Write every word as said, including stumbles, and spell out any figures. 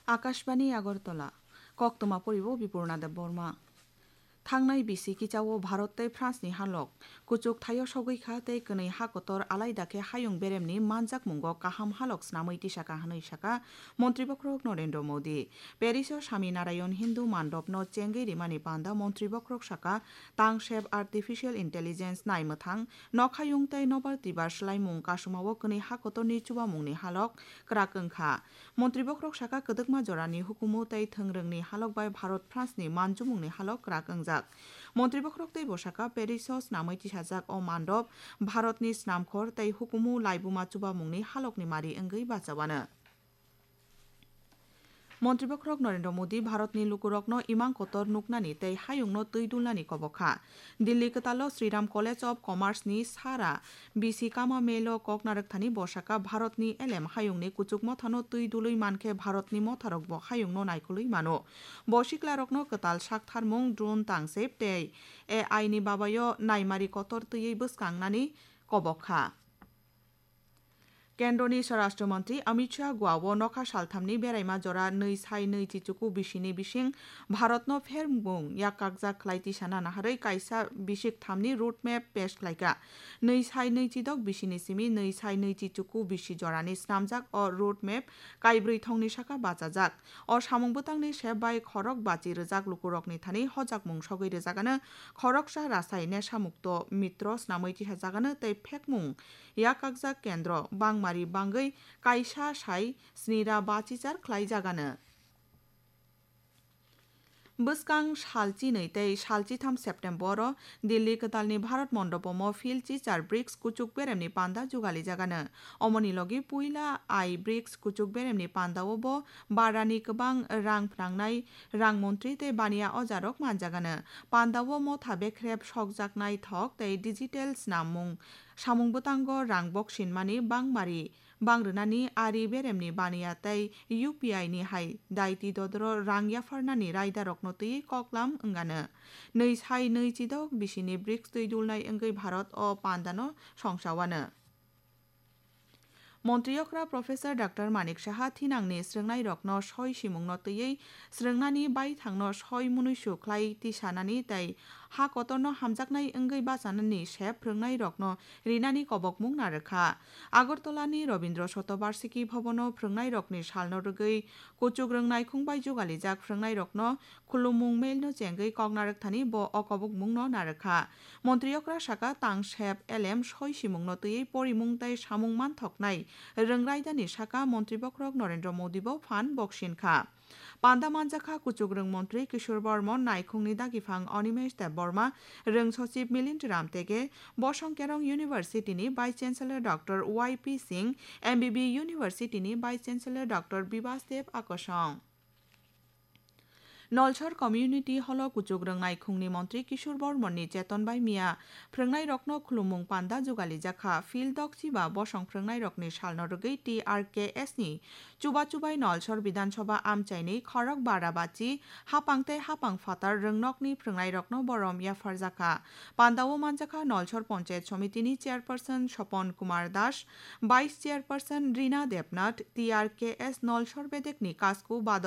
Akashbani Agartala, koktwma poribo Bipurna Debbarma. Thangnai bisi kichao Bharat tei France ni halok kuchuk thaio sogwi kha tei kwnwi ha kotor alaida khe hayung beremni manjakmungo kaham halok snamwi tisaka hwnwi saka Montri Bokhorok Narendra Modi. Paris o Sami Narayan Hindu Mandop no chengwi rimani panda Montri Bokhorok saka tangsep artificial intelligence naimwthang nokhayung tei nobar twibar swlaimung kasumao kwnwi ha kotorni chubamungni halok kwrak wngkha. Montri Bokhorok saka kwdwkma jorani hukumu tei thwngrwngni halok bai Bharat France ni manjumungni halok kwrak wngjak. Montri Bokhorok tei bwsaka Paris o snamwi tisajak o mandop Bharatni snamkhor tei hukumu laibuma chubamungni halokni mari wngwi bachawano. Montri Bokhorok Narendra Modi Bharatni lukurokno imang kotor nuknani tei hayungno twi dulnani kobok kha. Dilli kwtalo Sriram College of Commerce ni sara bisi kama melo kok narwkthani bwsaka Bharatni elem hayungni kuchuk mothano twi dulwi mankhe Bharatni motharokbo hayungno naikolwi mano. Bo siklarokno kwtal saktharmung, drone tangsep tei A I ni babayo naimari kotor twiwi bwskangnani kobok kha. Kendroni Swarashtra Mantri Amit Shah Goa o nokha salthamni beraima jora nwi sai nwi chichuku bisini bising Bharatno phermung yakkakjak khlai tisana naharwi kaisa bisik thamni road map pesh khlaikha. Nwi sai nwi chidok bisini simi nwi sai nwi chichuku bisi jorani snamjak o road map kaibrwi thongni saka bachajak. O samung bwtangni sep bai khorok bachi rwjak lukurokni thani hojakmung sogwi rwjagano khoroksa Rasai Nesha Mukto Mitro snamwi tisajagano tei phekmung yakakjak kendro bangmari bangwi kaisa sai snira bachichar khlaijagano. Bwskang sal chinwi tei sal chitham September-o Delhi kwtalni Bharat Mondopomo Phil Chichar brics kuchuk beremni panda jugalijagano. Omoni logi puila ai brics kuchuk beremni pandao bo barani kwbang rang phnangnai rang montri tei baniya ojarok manjagano. Pandao motha bekrep sokjaknai thok tei digital snamung samung bwtango rang boksinmani bangmari bang rwnani ari beremni baniya tei U P I ni hai daiti dodoro rang yapharnani raidarokno twi koklam wngano. Nwi sai nwi chidok bisini brics twi dulnai wngwi Bharat o pandano songsawano. Montri okra Professor Doctor Manik Saha thinangni srwngnairokno soi simungno twiwi srwngnani baithangno soi munuisu khlai tisanani tei ha kotorno hamjaknai wngwi bachanani sep phrwngnairokno rinani kobokmung narwkha. Agartalani Rabindra Shatobarshiki Bhabono phrwngnairokni salno rwgwi kuchuk rwng naikhung bai jugalijak phrwngnairokno khulumung mailno chengwi kok narwkthani bo o kobokmungno narwkha. Montri okra saka tang sep elem soi simungno twiwi porimung tei samung manthoknai rwng raidani saka Montri bokhorok Narendra Modi bo phan boksinkha. Panda manjakha kuchuk rwng montri Kishore Bormon, naikhungni dagiphang Animesh Debbarma, rwng sochib Milind Ramtege, Bosong Kerong University ni Vice Chancellor Doctor Y P Singh, M B B University ni Vice Chancellor Doctor Bibas Dev Akosong. Nolsor Community Hall o kuchuk rwng naikhungni montri Kishore Bormon ni cheton bai miya phrwngnairokno khulumung panda jugalijak kha. Phil Dokchi ba bosong phrwngnairokni salno rwgwi T R K S ni chuba chubai Nolsor Bidhan Sabha amchaini khorok bara bachi hapang tei hapang phatar rwngnokni phrwngnairokno borom yapharjakha. Pandao manjakha Nolsor Panchayat Somitini Chairperson Sopon Kumar Das, Vice Chairperson Rina Debnath, T R K S Nolsor bedekni kasku Badal